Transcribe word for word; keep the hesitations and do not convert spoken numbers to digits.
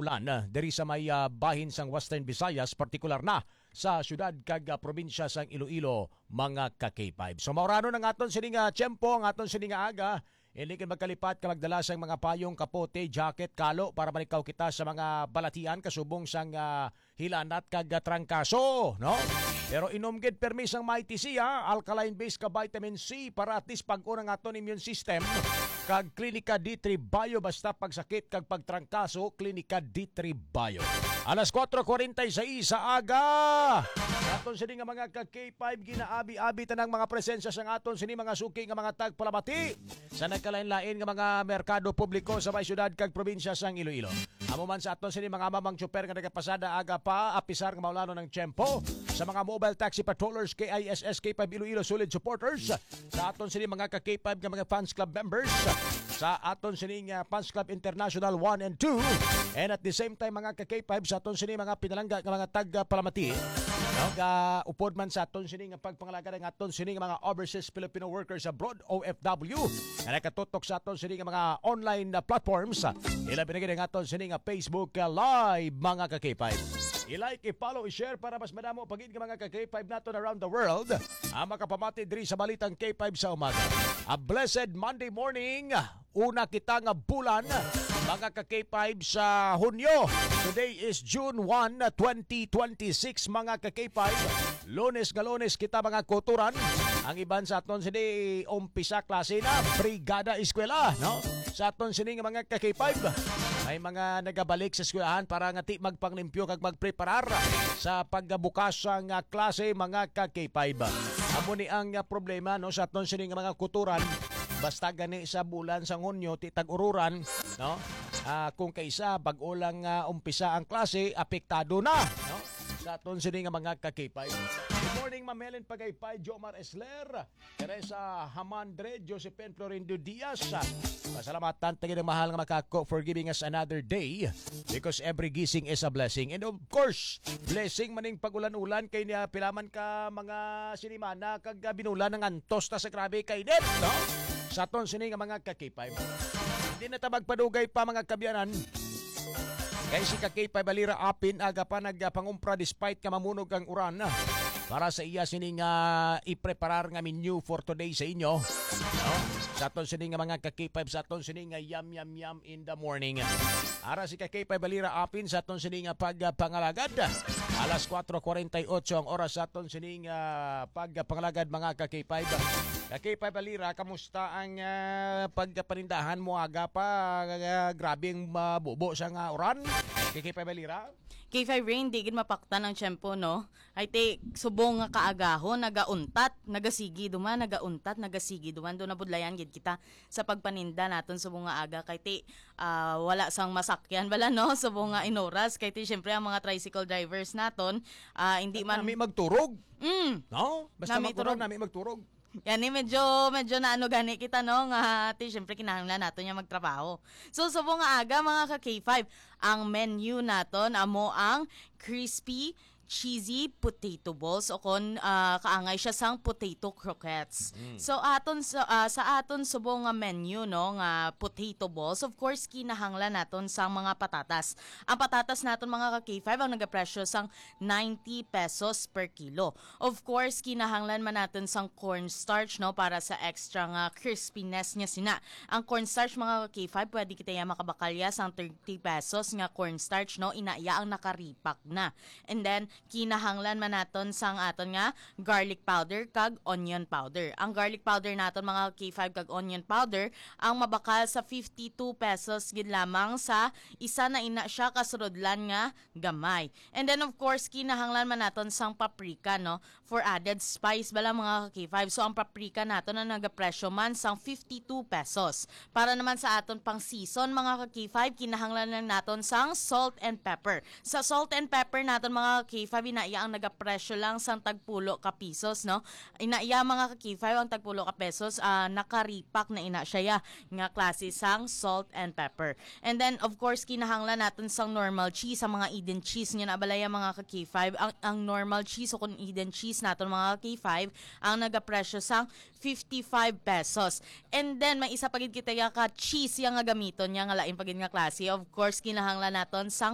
ulan, ah, diri sa may, ah, bahin sang Western Visayas, partikular na sa syudad kag, ah, probinsya sang Iloilo, mga ka-K five. So, maurano ang aton sini nga tiyempo, ang aton sini nga aga. Hindi ka magkalipat ka magdala sang mga payong, kapote, jacket, kalo para malikaw kita sa mga balatian kasubong sang, ah, hilanat kag, ah, trangkaso, no? Pero inom gid permi sang Mighty C, ah, alkaline base ka vitamin C para at least pag-on ang aton immune system. Kag Klinika D three Bio, basta pagsakit kag pagtrangkaso, Klinika D three Bio. Alas kuwatro kuwarenta y seis sa aga. Sa aton sini nga mga ka-K five, ginaabi-abi tanang mga presensya sang aton sini mga suki nga mga tagpalamati sa nagkalain-lain nga mga merkado publiko sa may syudad kag probinsya sang Iloilo. Amo man sa aton sini mga amang tsuper nga nagapasada aga pa, apisar nga maulanon ang tiyempo, sa mga mobile taxi patrollers, K I S S, K five Iloilo, solid supporters, sa aton sini mga ka-K five nga mga fans club members, sa aton sini nga fans club international one and two, and at the same time mga ka-K five sa aton sini mga pinalangga nga mga tagpalamati, no, ga upod man sa aton sini nga pagpangalagad ang aton sini nga mga overseas Filipino workers abroad, O F W, nga nakatutok sa aton sini nga mga online na platforms. Ilabi na gid ang aton sini nga Facebook, uh, Live, mga ka-K five. I-like, i-follow, i-share para mas madamo pa gid nga mga ka-K five naton around the world ang makapamati diri sa Balitang K five sa umaga. A blessed Monday morning. Una kita nga bulan, mga ka-K five, sa Hunyo. Today is June one, twenty twenty-six, mga ka-K five. Lunes nga Lunes kita, mga kutoran. Ang iban sa aton sini umpisa klase na, brigada eskwela, no? Sa aton sini nga mga ka-K five, may mga nagabalik sa eskwelahan para nga ti magpanglimpyo kag magpreparar sa pagbukas sa nga klase, mga ka-K five. Amo ni ang, ah, problema, no, sa aton sini nga mga kutoran. Basta gani sa bulan sang Hunyo, ti tag-ururan, no? Ah, kung kaisa, bag-o lang, ah, umpisa ang klase, apektado na, no? Sa aton sini nga mga ka-K five. Good morning, Ma'am Helen Pagaypay, Jomar Esler, Teresa Hamandre, Josephine Florindo Diaz. Pasalamatan ta gid ang mahal nga makako for giving us another day, because every gising is a blessing. And of course, blessing maning pag-ulan-ulan kay niya pila man ka mga sinimana kag, ah, binulan ang antos ta sa grabe kay init, no? Sa aton sini nga mga ka-K five. Hindi na ta magpadugay pa, mga kaabyanan. Kay si ka-K five Alira apin aga pa nagpangumpra despite nga mamunog ang uran para sa iya sini nga ipreparar nga menu for today sa inyo. No? Sa aton sini nga mga ka-K five, sa aton sini nga yum, yum, yum in the morning. Ara si ka-K five Alira apin sa aton sini nga pagpangalagad. Alas kuwatro kuwarenta y otso ang oras sa aton sini nga pagpangalagad, mga ka-K five. Ka-K five Alira, kamusta ang, ah, pagpanindahan mo aga pa? Ah, grabe ang mabubo sa nga uran. Ka-K five Alira? K five Rain, di gid mapaktan ang tiyempo, no? Ay, ti, subong nga kaagahon, nagauntat, nagasigi duman, nagauntat, nagasigi duman. Doon nabudlayan gid kita sa pagpaninda naton subong nga aga. Kay ti, ah, wala sang masakyan bala, no? Subong nga inoras. Kay ti, syempre, ang mga tricycle drivers naton, ah, hindi man Nami magturog. Mm. No? Basta Nami magturog, turog. Nami magturog. Yani, medyo, medyo naano gani kita, no? Nga, ti, syempre, kinahanglan naton nga magtrabaho. So, subong nga aga, mga ka-K five, ang menu naton, amo ang crispy cheesy potato balls, o kon, ah, kaangay siya sang potato croquettes. Mm. So, aton sa, ah, sa aton subong nga menu, no, nga potato balls, of course, kinahanglan naton sang mga patatas. Ang patatas naton, mga ka-K five, ang nagapresyo sang ninety pesos per kilo. Of course, kinahanglan man naton sang cornstarch, no, para sa extra nga crispiness niya sina. Ang cornstarch, mga ka-K five, pwede kita ya makabakalya sang thirty pesos nga cornstarch, no, ina ya ang nakaripak na. And then, kinahanglan man naton sang aton nga garlic powder kag onion powder. Ang garlic powder naton, mga ka-K five, kag onion powder, ang mabakal sa fifty-two pesos gid lamang sa isa na ina siya ka surudlan nga gamay. And then, of course, kinahanglan man naton sang paprika, no? For added spice bala, mga ka-K five. So, ang paprika naton ang nagapresyo man sang fifty-two pesos. Para naman sa aton pang season, mga ka-K five, kinahanglan lang naton sang salt and pepper. Sa salt and pepper naton, mga ka-K five, ina ya ang nagapresyo lang sang tagpulo ka pesos, no? Ina ya, mga ka-K five, ang tagpulo ka pesos, ah, nakaripak na ina siya ya nga klase sang salt and pepper. And then, of course, kinahanglan naton sang normal cheese, ang mga Eden cheese nga nabala ya, mga ka-K five. Ang, ang normal cheese o kung Eden cheese naton, mga ka-K five, ang nagapresyo sang fifty-five pesos. And then, may isa pa gid kita ya ka cheese ya nga gamiton niya nga lain pa gid nga klase. Of course, kinahanglan naton sang